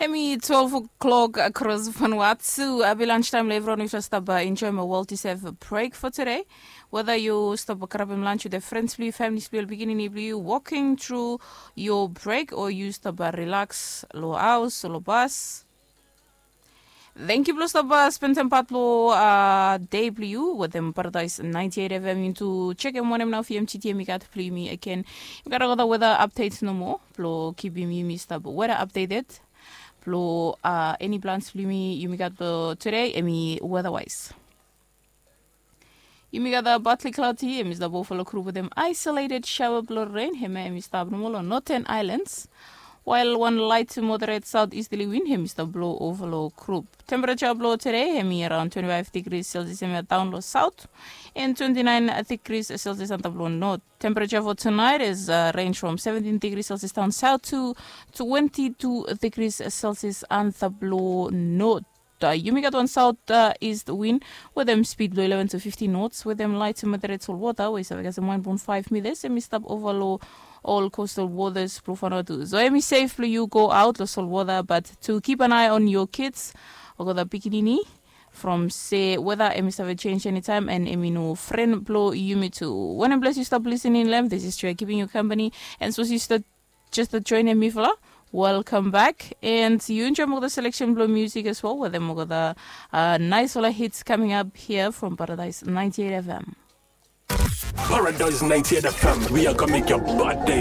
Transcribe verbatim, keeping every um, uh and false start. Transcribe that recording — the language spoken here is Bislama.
Emi twelve o'clock across Vanuatu. Abi lunch time lo everyone. Yu stap enjoy my world is have a break for today. Whether yu stap grab him lunch with the friends blue, families blue, beginning blue, walking through your break, or yu stap relax lo house lo bus. Thank you blue stop uh, spend time part lo uh, day blue with them Paradise ninety-eight F M into check him one now for M T T M got blue me again. You gotta go the weather updates no more. Blue keep him you missed up weather updated. Blue uh, any plans blue me you got the today emi weather wise. Yumi gat a partly cloudy, emi stap overflow group with them isolated shower blow rain, hema emi stap normal on northern islands. While one light to moderate southeasterly wind, hemi stap blow overflow group. Temperature blow today, hemi around twenty-five degrees Celsius, hemi down low south, and twenty-nine degrees Celsius on the blow north. Temperature for tonight is uh, range from seventeen degrees Celsius down south to twenty-two degrees Celsius on the blow north. Uh, yumi gat wan south uh, east wind with them speed below eleven to fifteen knots with them light to moderate sol water wey save gas one point five meters and mi stop over low all coastal waters blue Vanuatu. So emi safe blue you go out lo sol water, but to keep an eye on your kids or go the pikinini from say whether emi save change anytime and emi no friend blow yumi too. When a bless you stop listening lem, this is Trey keeping you company and so sister just to join me fla. Welcome back. And you enjoy more the selection blow music as well with them more the uh, nice all hits coming up here from Paradise ninety-eight F M. Paradise ninety-eight F M, we are gonna make your bad day